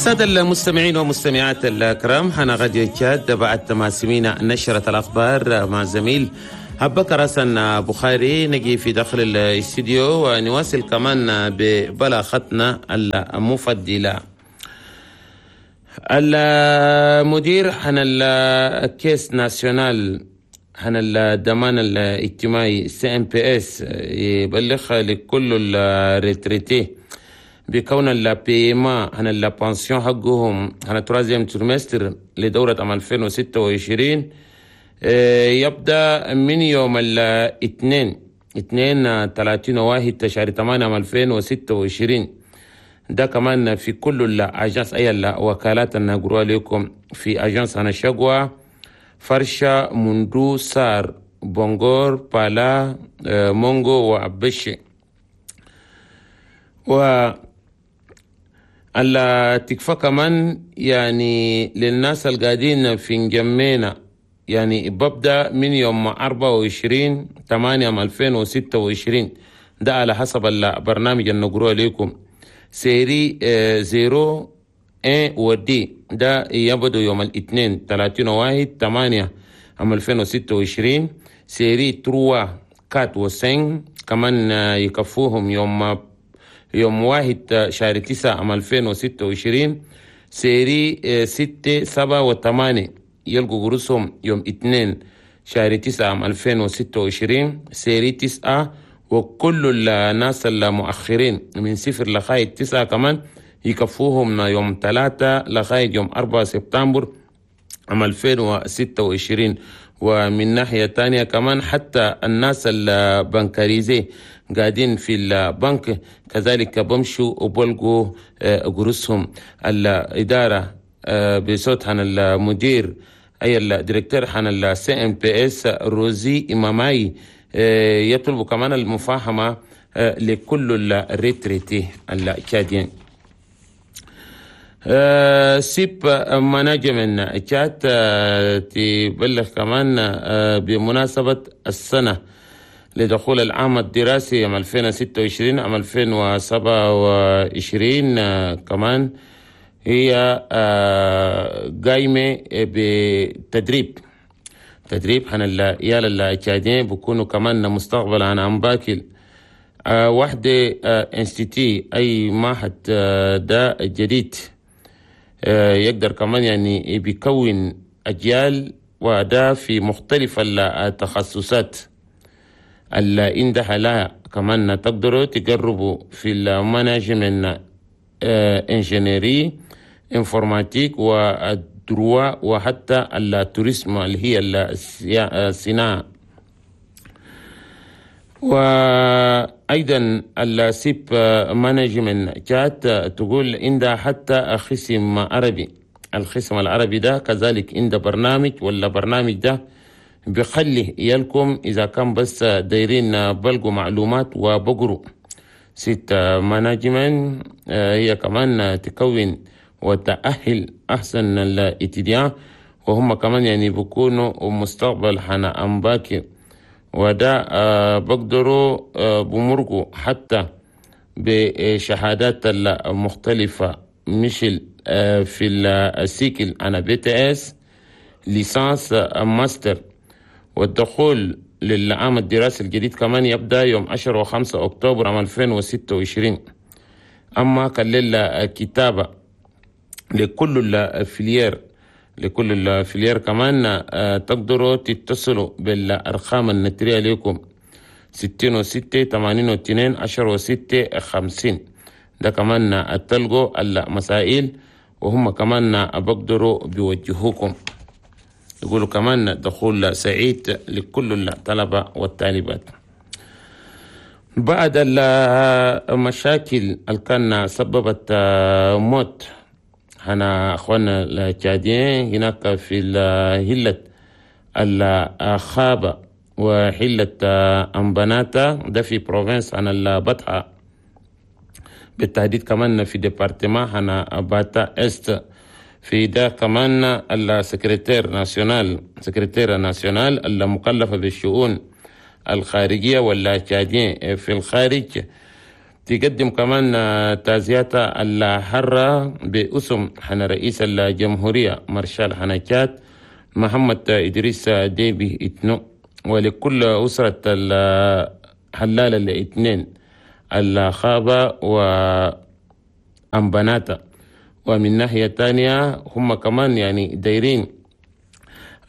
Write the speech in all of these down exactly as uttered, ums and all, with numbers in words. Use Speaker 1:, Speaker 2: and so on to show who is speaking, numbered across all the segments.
Speaker 1: السادة المستمعين والمستمعات الكرام، هنا راديو تشاد، بعد ما سمينا نشرة الأخبار مع زميل أبكر حسن بخاري، نجي في داخل الاستديو ونواصل كمان ببلاغتنا المفضلة. المدير هنا ال caisse nationale هنا الضمان الاجتماعي CNPS يبلغ لكل ال retraités بكون ال paiement هنا la pension حقهم هنا troisième trimestre لدورة عام ألفين وستة وعشرين يبدأ من يوم الاثنين اثنين ثلاثين واحد شهر ثمانية عام ألفين وستة وعشرين. ده كمان في كل ال agences، أي الوكالات النقروا لكم، في agence هنا شقوة، فرشة، مندو، سار، بونغور، بالا، مونغو وأبشي. و التكفى كمان يعني للناس القاعدين في انجمينا، يعني ببدأ من يوم أربعة وعشرين ثمانية ألفين وستة وعشرين، ده على حسب البرنامج النقروه لكم. série zéro un و deux ده يبدو يوم الاثنين ثلاثين واحد ثمانية عام ألفين وستة وعشرين. série trois، quatre و cinq كمان يكفوهم يوم يوم واحد شهر تسعة عام ألفين وستة وعشرين. série ستة، سبعة وثمانية يلقوا قروسهم يوم اثنين شهر تسعة عام ألفين وستة وعشرين. série تسعة وكل الناس المؤخرين من صفر لغاية تسعة كمان يكفوهم يوم ثلاثة لغاية يوم أربعة سبتمبر عام ألفين وستة وعشرين. ومن ناحية تانية كمان حتى الناس ال bancarisés قاعدين في البنك كذلك بمشوا وبلقوا قروسهم. الإدارة بصوت عن المدير، أي ال directeur عن ال CNPS روزي إماماي، يطلب كمان المفاهمة لكل ال retraités التشاديين. SUP Management تشاد تبلغ كمان بمناسبة السنة لدخول العام الدراسي عام ألفين وستة وعشرين عام ألفين وسبعة وعشرين، كمان هي قايمة بتدريب تدريب عن العيال التشاديين بيكونوا كمان مستقبل عن أمباكل. وحدة institut، أي معهد ده جديد يقدر كمان يعني بيكون أجيال، وده في مختلف التخصصات اللي عندها لها. كمان تقدروا تجربوا في ال management، ingénierie informatique وال droit وحتى ال tourisme اللي هي الصناعة. وأيضا ال SUP Management تشاد تقول عندها حتى قسم عربي. القسم العربي ده كذلك عنده برنامج، ولا برنامج ده بخلي يلكم إذا كان بس دايرين بلقوا معلومات وبقروا. SUP Management هي كمان تكون وتأهل أحسن ال étudiants، وهم كمان يعني بيكونوا مستقبل حنا أمباكي، وده بقدروا بمرقوا حتى بشهادات المختلفة مثل في ال cycle أنا BTS، licence، master. والدخول للعام الدراسي الجديد كمان يبدأ يوم عشرة وخمسة أكتوبر عام ألفين وستة وعشرين. أما كان للكتابة لكل ال filières لكل ال filières كمان تقدروا تتصلوا بالأرقام النترية لكم: ستين وستة ثمانين واثنين عشرة وستة خمسين. ده كمان تلقوا المسائل وهم كمان بقدروا بيوجهوكم. يقولوا كمان دخول سعيد لكل الطلبة والطالبات. بعد المشاكل اللي كان سببت موت هنا اخواننا التشاديين هناك في هلة الخابة وحلة أمبناتا، ده في province عن البطحة، بالتحديد كمان في département هنا باتا Est. في ده كمان ال secrétaire national secrétaire national المكلفة بالشؤون الخارجية والتشاديين في الخارج. تقدم كمان تعزياتها الحارة باسم حنا رئيس الجمهورية مارشال حنا تشاد محمد إدريس ديبي إتنو، ولكل أسرة الحلال الاثنين الخابة وأمبناتا. ومن ناحية تانية هم كمان يعني دايرين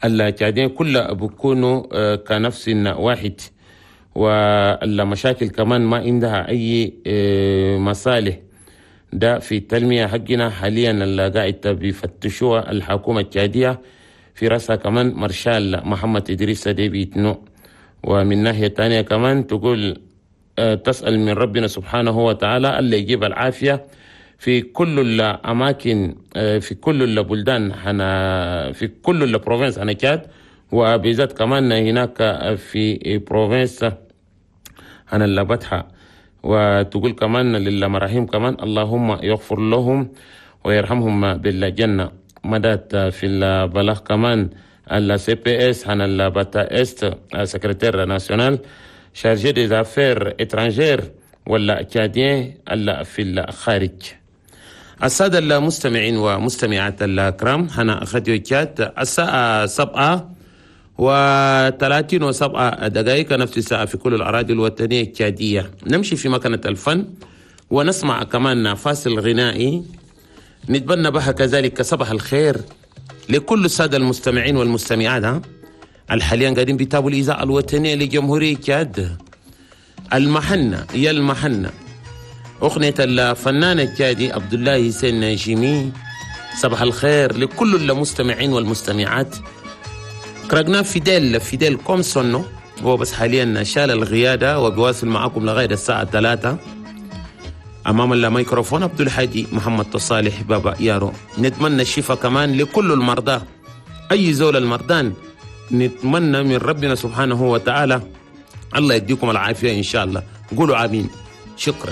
Speaker 1: التشادين كلها بيكونوا كنفس واحد، والمشاكل كمان ما عندها أي مصالح. ده في التنمية حقنا حاليا اللي قاعد بيفتشوها الحكومة التشادية في رأسها كمان مارشال محمد إدريس ديبي إتنو. ومن ناحية تانية كمان تقول تسأل من ربنا سبحانه وتعالى اللي يجيب العافية في كل الأماكن، في كل البلدان هنا، في كل ال provinces هنا تشاد، وبالذات كمان هناك في province هنا البتحة. وتقول كمان للمراحيم كمان اللهم يغفر لهم ويرحمهم بالجنة. مدات في البلاغ كمان ال CPS هنا البتا Est secrétaire national chargé des affaires étrangères ولا tchadiens في الخارج. السادة المستمعين ومستمعات الكرام، هنا راديو تشاد الساعة سبعة وثلاثين وسبعة دقائق، نفس الساعة في كل الأراضي الوطنية التشادية. نمشي في مكنة الفن ونسمع كمان فاصل غنائي نتبنى بها كذلك صباح الخير لكل السادة المستمعين والمستمعات الحاليا قاعدين بيتابعوا الإذاعة الوطنية لجمهورية تشاد. المحنة يا المحنة، أغنية الفنان التشادي عبد الله حسين جيمي. صباح الخير لكل المستمعين والمستمعات. كرقنا fidèle fidèle comme son nom، هو بس حاليا شال القيادة وبيواصل معكم لغاية الساعة ثلاثة. أمام الميكروفون عبد الحادي محمد صالح بابا يارو. نتمنى الشفاء كمان لكل المرضى، أي زول المرضان نتمنى من ربنا سبحانه وتعالى الله يديكم العافية إن شاء الله. قولوا آمين. شكرا.